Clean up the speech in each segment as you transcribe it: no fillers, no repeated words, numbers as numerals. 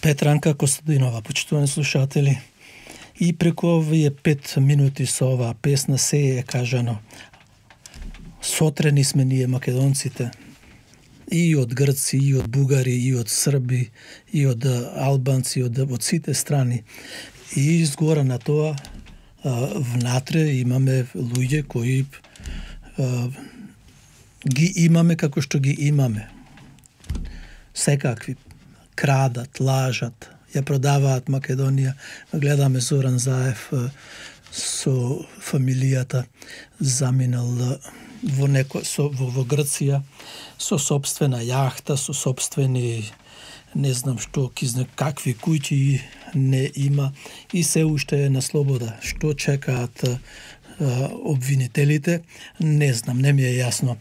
Петранка Костадинова, почитувани слушатели. И преку овие 5 минути со оваа песна се е кажано. Сотрени сме ние македонците. И од грци, и од бугари, и од срби, и од албанци, од сите страни. И изгора на тоа, внатре имаме луѓе кои ги имаме како што ги имаме. Секакви крадат, лажат, ја продаваат Македонија. Гледаме Зоран Заев со фамилијата заминал во Грција со собствена јахта, со собствени не знам што, какви куќи не има и се уште е на слобода. Што чекаат обвинителите, не знам, не ми е јасно.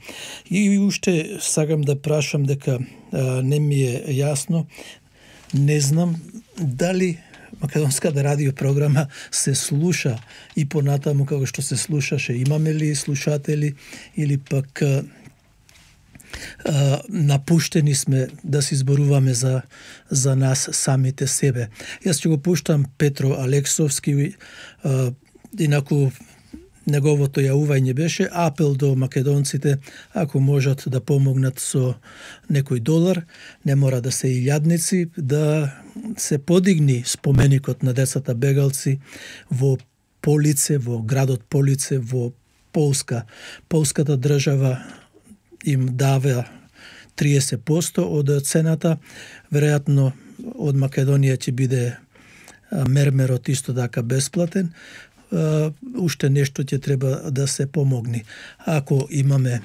И уште сакам да прашам дека не ми е јасно, не знам дали македонската радиопрограма се слуша и понатаму како што се слушаше. Имаме ли слушатели или пак напуштени сме да се изборуваме за нас самите себе. Јас ќе го пуштам Петро Алексовски, инаку неговото јавување беше апел до македонците, ако можат да помогнат со некој долар, не мора да се илјадници, да се подигни споменикот на децата бегалци во Полице, во градот Полице, во Полска. Полската држава им дава 30% од цената, веројатно од Македонија ќе биде мермерот исто така бесплатен. Уште нешто ќе треба да се помогни. Ако имаме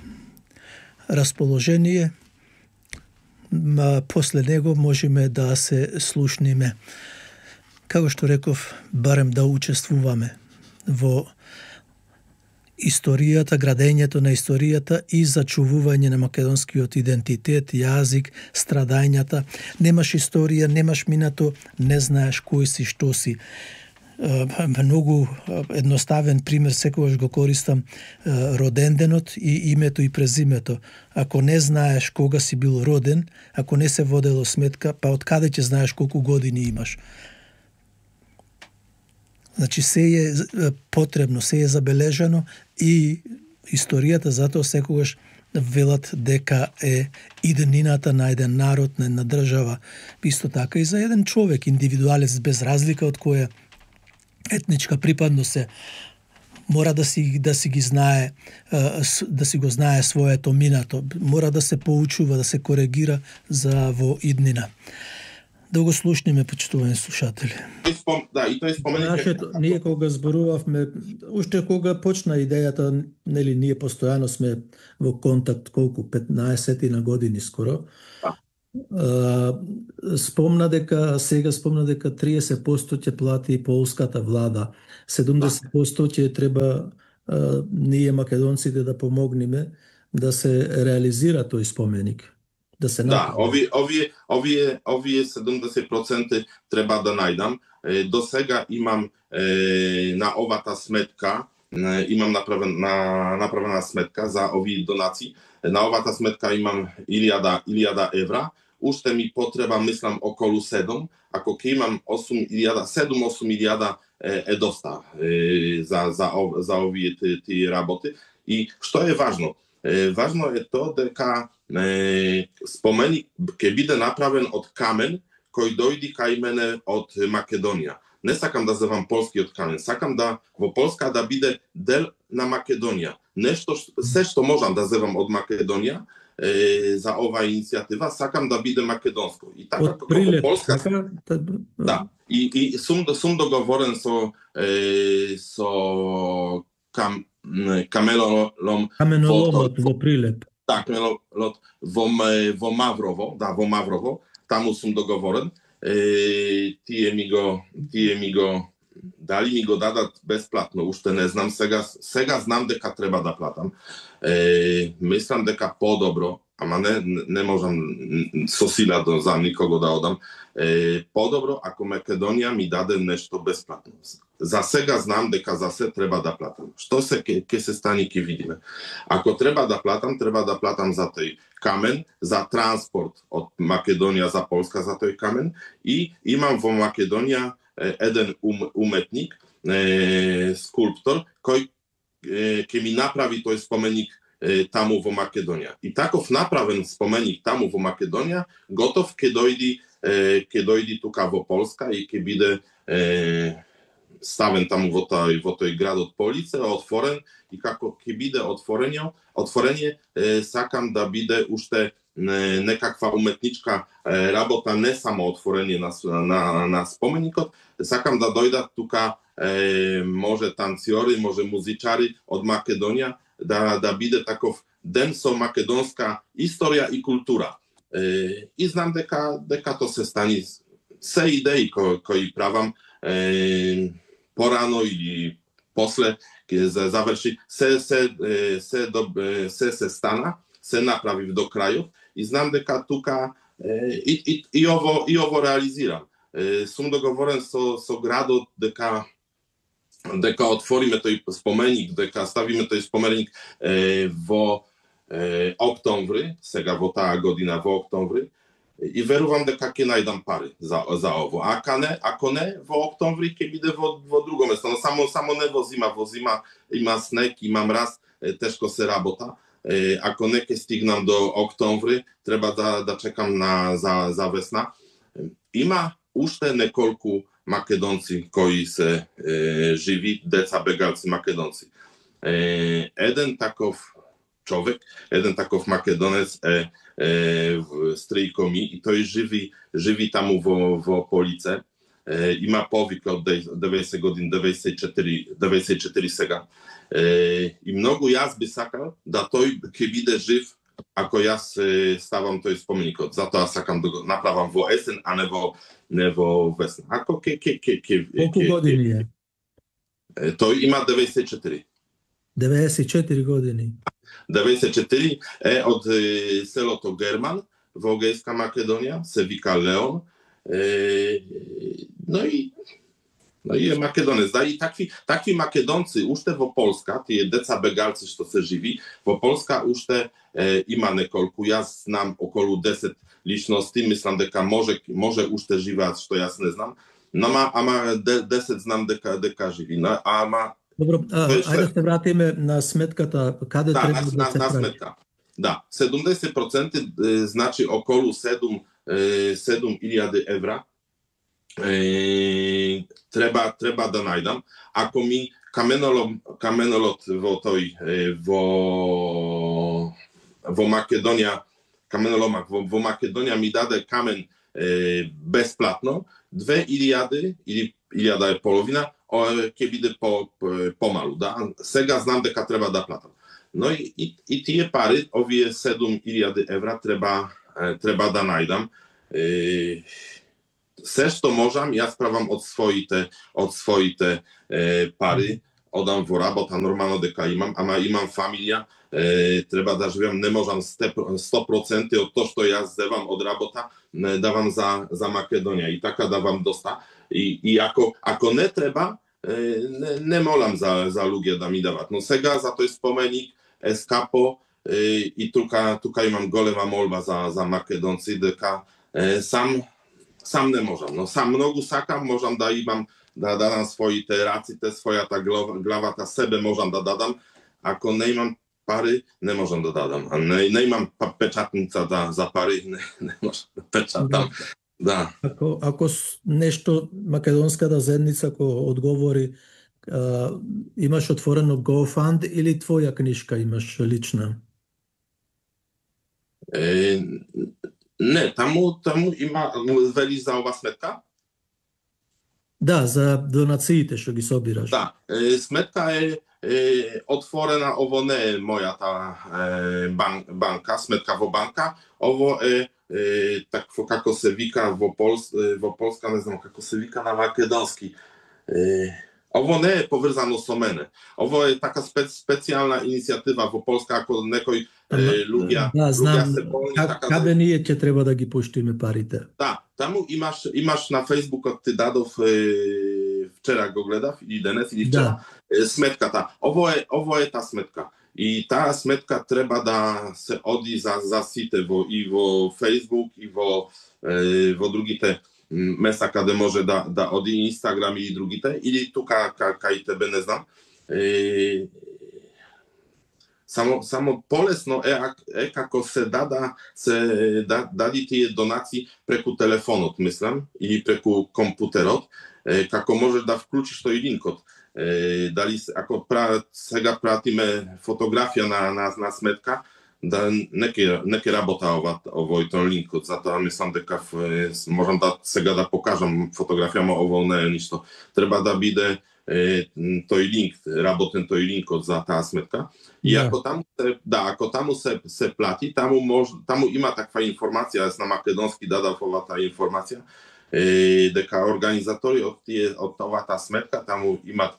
расположение, после него можеме да се слушниме. Како што реков, барем да учествуваме во историјата, градењето на историјата и зачувување на македонскиот идентитет, јазик, страдањата. Немаш историја, немаш минато, не знаеш кој си, што си. Многу едноставен пример, секогаш го користам, роденденот и името и презимето. Ако не знаеш кога си бил роден, ако не се водело сметка, па од каде ќе знаеш колку години имаш? Значи се е потребно, се е забележано и историјата затоа секогаш велат дека е иднината на еден народ, на една држава, исто така и за еден човек, индивидуалец, без разлика од која етничка припадност е, мора да си ги знае, да си го знае своето минато, мора да се поучува, да се коригира за во иднина. Да го слушниме, почитувани слушатели. Да, и тој споменик. Ние кога зборувавме, уште кога почна идејата, нели ние постојано сме во контакт колку 15 на години скоро. Спомна дека 30% ќе плати полската влада, 70% ќе треба ние македонците да помогнеме да се реализира тој споменик. Да, овие 70% треба да најдам. До сега имам на овата сметка, имам направена сметка за овие донации. На овата сметка имам 1000 евра. Уште ми потреба, мислам, околу 7. Ако ќе имам 7-8 е доста за овие тие работи. И што е важно? Важно е тоа дека споменик ќе биде направен од камен кој дојди кај мене од Македонија. Не сакам да зевам полскиот камен, сакам да во Полска да биде дел на Македонија. Нешто, се што можам да зевам од Македонија за оваа иницијатива, сакам да биде македонско. И така од прилеп, Полска. Да. И сум договорен со каменоломот во Прилеп. Так, во Маврово, да, во Маврово, таму сум договорен. Тие ми го дали ми го дадат бесплатно, уште не знам, сега знам дека треба да платам. Мислам дека подобро, ама не можам со сила за никого да одам. Подобро ако Македонија ми даде нешто бесплатно. за сега знам дека за се треба да платам. Што се ќе се стане, ќе видиме. Ако треба да платам за тој камен, за транспорт од Македонија за Полска за тој камен, и имам во Македонија еден уметник, скулптор, кој ќе ми направи тој споменик таму во Македонија. И таков направен споменик таму во Македонија, готов ќе дојди тука во Полска и ќе биде ставен таму во тој градот Полице, отворен, и како ќе биде отворење, сакам да биде уште некаква уметничка работа, не само отворење на споменикот, сакам да дојдат тука може танцори, може музичари од Македонија, да биде таков ден со македонска историја и култура. И знам дека то се стани. Се идеи кои правам порано или после ќе заврши, се стана, се направив до крајот, и знам дека тука и ово реализирам. Сум договорен со градот дека отвориме тој споменик, дека ставиме тој споменик во октомври, сега во таа година во октомври, и верувам дека ќе најдам пари за ово. Ако не, во октомври ќе биде во друго место, но само не во зима, има снег, има мраз, тешко се работа. Ако не ќе стигнам до октомври, треба да чекам за весна. Има уште неколку македонци кои се живи, деца бегалци македонци. Еден таков човек, еден таков македонец е Стрейко ми, и тој живи таму во Полице. Има повеќе од 90 години, 94 сега. И многу јас би сакал да тој ќе биде жив ако јас ставам тој споменикот. Затоа сакам да го направам во есен, а не во весна. Ако Колку години е? Тој има 94. 94 години. 94 е од селото Герман во Егејска Македонија, се вика Леон. Но и е македонец. Да, и такви македонци уште во Полска, тие деца бегалци што се живи, во Полска уште има неколку. Јас знам околу 10 личности, мислам дека може уште живеат, што јас не знам. Ама 10 знам дека живи. Добро, ајде се вратиме на сметката, каде треба да се прави? На сметка. Да, 70% значи околу 7.000 евра треба да најдам. Ако ми каменолот во Македонија, каменоломак во Македонија ми даде камен бесплатно, 2.000 или 1.500 ќе биде помалу, да. Сега знам дека треба да платам. Но и тие пари, овие 7.000 евра треба да најдам. Се што можам, јас правам од своите пари, одам во работа, нормално дека имам, ама имам фамилија, треба да живеам, не можам 100% од тоа што јас зевам од работа, не давам за Македонија, и така давам доста. И ако не треба, не молам за луѓе да ми дават. Но сега за тој споменик е скапо, и тука имам голема молба за македонци, дека сам не можам, но сам многу сакам, можам да имам, да дадам своите раците, својата главата, себе можам да дадам. Ако не имам пари, не можам да дадам. А не имам печатница за пари, не можам да печатам. Да. Ако нешто македонската заедница ако одговори, имаш отворено GoFund или твоја книшка имаш лична? Не, таму има, вели за ова сметка? Да, за донациите што ги собираш. Да, сметка е отворена, ово не е мојата банка, сметка во банка, ово е такво како се вика во Полска, не знам како се вика на македонски. Ово не е поврзано со мене. Ово е така специјална иницијатива во Полска, ако некој луѓе се болни. Каде ние ќе треба да ги пуштиме парите? Да, таму имаш на Фејсбукот ти дадов вчера го гледав, или денес, или вчера, сметката. Ово е та сметка. И таа сметка треба да се оди за сите и во Facebook, и во другите места каде може да оди, Инстаграм и другите, или тука кај тебе, не знам. Само полесно е како се дади тие донации преку телефонот, мислам, или преку компутерот, како можеш да вклучиш тој линкот. Дали ако сега пратиме фотографија на сметка, да не ќе работа овој линкот, затоа мислам дека можам сега да покажам фотографија, но ово не е ништо. Треба да биде тој линк, работен тој линкот за таа сметка. И ако таму се плати, таму има таква информација, јас на македонски дадав оваа информација, дека организатори од оваа сметка таму имат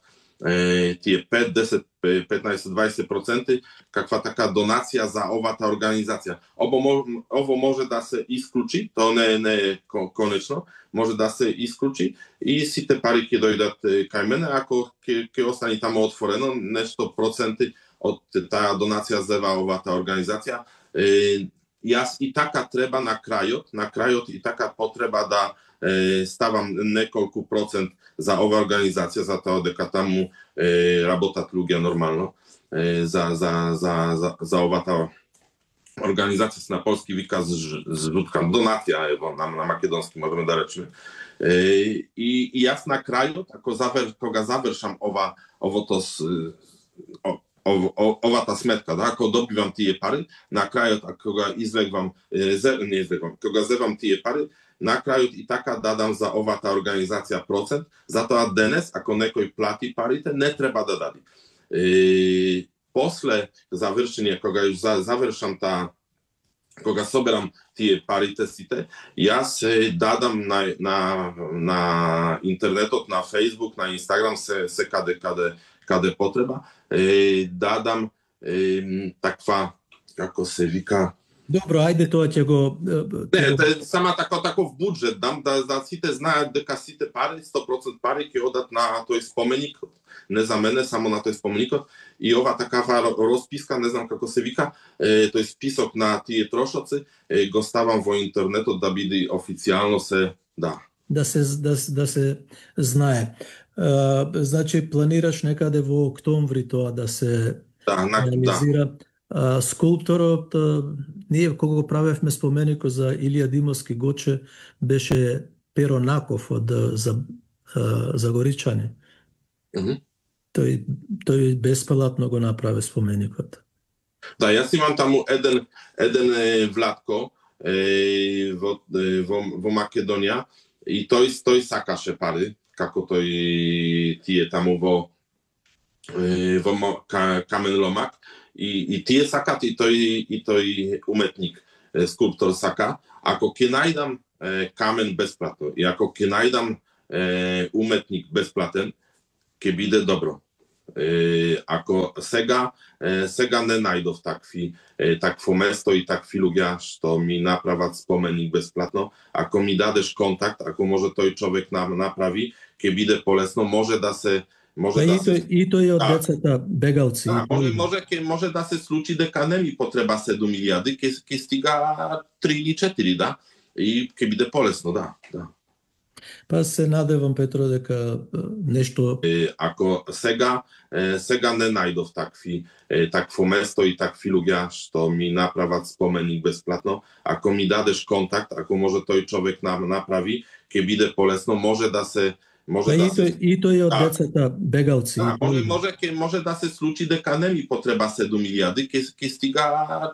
тие 5, 10, 15, 20% каква така донација за оваа организација. Ово може да се исклучи, тоа не е конечно, може да се исклучи и сите пари ќе дојдат кај мене, ако ќе остане таму отворено нешто проценти од таа донација за оваа организација. Јас и така треба на крајот и така потреба да ставам неколку процент за оваа организација, затоа дека таму работат луѓе нормално за оваа организација, на полски вика жутка донација, на македонски можеме да речеме. И јас на крајот, кога завршам овата сметка, ако добивам тие пари, на крајот, кога кога зевам тие пари, на крајот и така дадам за оваа организација процент, затоа денес, ако некој плати парите, не треба да даде. После завршение, кога завршам кога соберам тие парите сите, јас дадам на интернетот, на Facebook, на Инстаграм, се каде потреба, дадам таква, како се вика... Добро, ајде тоа ќе го... Не, сама таков буџет дам, да сите знаат дека сите пари, 100% пари ќе одат на тој споменик, не за мене, само на тој споменикот. И ова такава расписка, не знам како се вика, тој список на тие трошоци, го ставам во интернетот да биде официјално се... Да се знае. Значи, планираш некаде во октомври тоа да се реализира. Скулпторот, ние кога го правевме споменикот за Илија Димовски Гоче, беше Перо Наков од Загоричани. Тој бесплатно го направи споменикот. Да, јас имам таму еден Владко во Македонија и тој сакаше пари, како тие таму во Камен Ломак. И тие сакат, и тој уметник, скулптор сака. Ако ќе најдам камен бесплатно и ако ќе најдам уметник бесплатен, ќе биде добро. Ако сега не најдов такво место и такви луѓе што ми направат споменик бесплатно, ако ми дадеш контакт, ако може тој човек направи, ќе биде полесно, може да се... И тој од децата бегалци. Може да се случи дека не ми потреба 7.000, ќе стига 3 или 4, да, и ќе биде полесно, да. Па се надевам, Петро, дека нешто... Ако сега не најдов такво место и такви луѓе што ми направат споменик бесплатно, ако ми дадеш контакт, ако може тој човек направи, ќе биде полесно, може да се... И тој од децата бегалци. Може да се случи дека не ми потреба 7.000, ќе стига